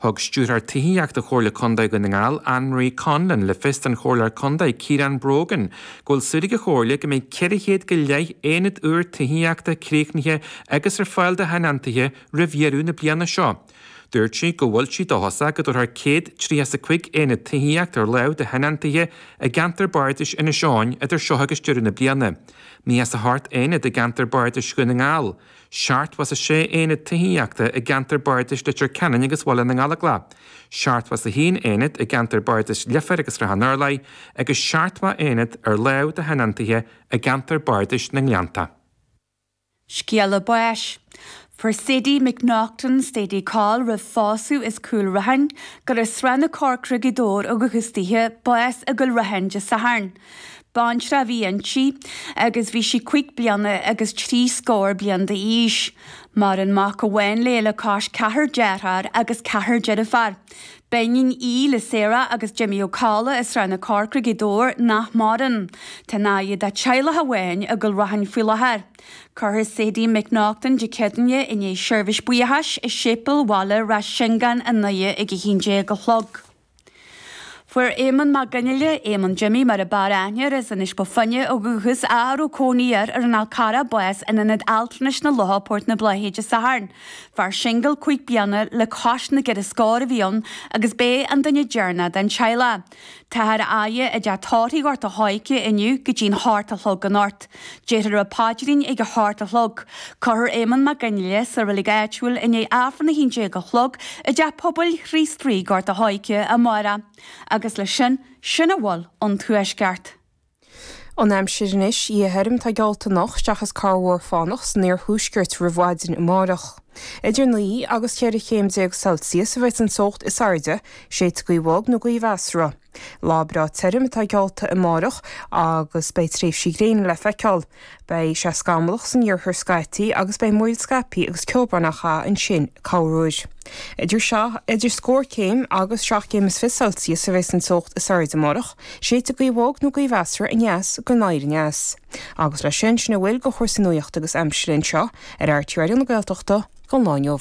Thug Stiúrthóir Tithíochta Chomhairle Contae Dhún na nGall, Anne Marie Conlon, le fios don Chomhairleoir Contae, Ciarán Brogan, go bhfuil súil ag an Chomhairle go mbeidh 400 go leith aonad úr tithíochta críochnaithe agus ar fáil do thionóntaithe roimh dheireadh na bliana seo. Dúirt sí go bhfuil sí dóchasach go dtabharfar 135 aonad tithíochta ar láimh do thionóntaithe i gceantar bardais Inis Eoghain idir seo agus deireadh na bliana, 98 aonad i gceantar bardais Dhún na nGall, 76 aonad tithíochta i gceantar bardais Leitir Ceanainn agus Bhaile na nGallóglach, 71 aonad i gceantar bardais Leifear agus Shrath an Urláir agus 70 aonad ar láimh do thionóntaithe i gceantar bardais na nGleannta. Scéala báis. Fuair Sadie McNaughton, Sadie Coll roimh phósadh as Cúil Raithin, gur as Srath na Corcra, Gaoth Dobhair ó dhúchas daoithe, bás i gCúil Raithin Dé Sathairn. Baintreach a bhí inti agus bhí sí cuig bliana agus trí scór bliain d'aois. Maireann mac amháin léi le cois ceathrar dearthár agus ceathrar deirfiúr. B'iníon í le Sarah agus Jimmy Ó Cadhla as Srath na Corcra, Gaoth Dobhair, nach maireann. Tá an fhaire dá teaghlach amháin i gCúil Raithin faoi láthair. Cuirfear Sadie McNaughton Dé Céadaoine i ndiaidh seirbhís buíochais i Séipéal Bhaile Ráth Seangáin i nDoire ag 11 a chlog. Fuair Éamonn Mac Fhionnghaile, Éamonn Jimmy mar a b'fhearr aithne air, as Inis Bó Finne ó dhúchas, a raibh cónaí air ar an Fhál Carrach, bás in Ionad Altranais na Locha, Port na Bláiche Dé Sathairn. Fear singil cuig bliana le cois na gceithre scór a bhí ann agus b'é an duine deireanach den teaghlach. Táthar á fhaire i dteach tórraimh Ghort a' Choirce inniu go dtí'n hocht a chlog anocht. Déarfar an paidrín ag a hocht a chlog. Cuirfear Éamonn Mac Fhionnghaile sa reilig áitiúil i ndiaidh Aifreann 11 a chlog i dTeach Pobail Chríost Rí, Gort a' Choirce, amárach. Agus leis sin, sin a bhfuil ón Tuaisceart. An aimsir anois, Oíche thirim atá geallta anocht seachas corrmhúr fánach san iarthuaisceart roimh mhaidin amárach. Idir 9 agus 14 chéim Celsius a bheas an teocht is airde, séidfidh gaoth bhog nó gaoth mheasartha. Lá breá tirim atá geallta amárach agus beidh tréimhsí gréine le feiceáil. Beidh sé scamallach san iarthar scaití agus beidh múraíl scaipthe agus ceobhrán á chaitheamh ansin corruair. Idir idir scór céim agus 7 gcéim is fiche Celsius a bheas an teocht is airde amárach, séidfidh gaoth bhog nó gaoth mheasartha aneas go anoir aneas. Agus leis sin, sin a bhfuil de chúrsaí nuachta agus aimsire anseo ar RTÉ Raidió na Gaeltachta don lá inniu.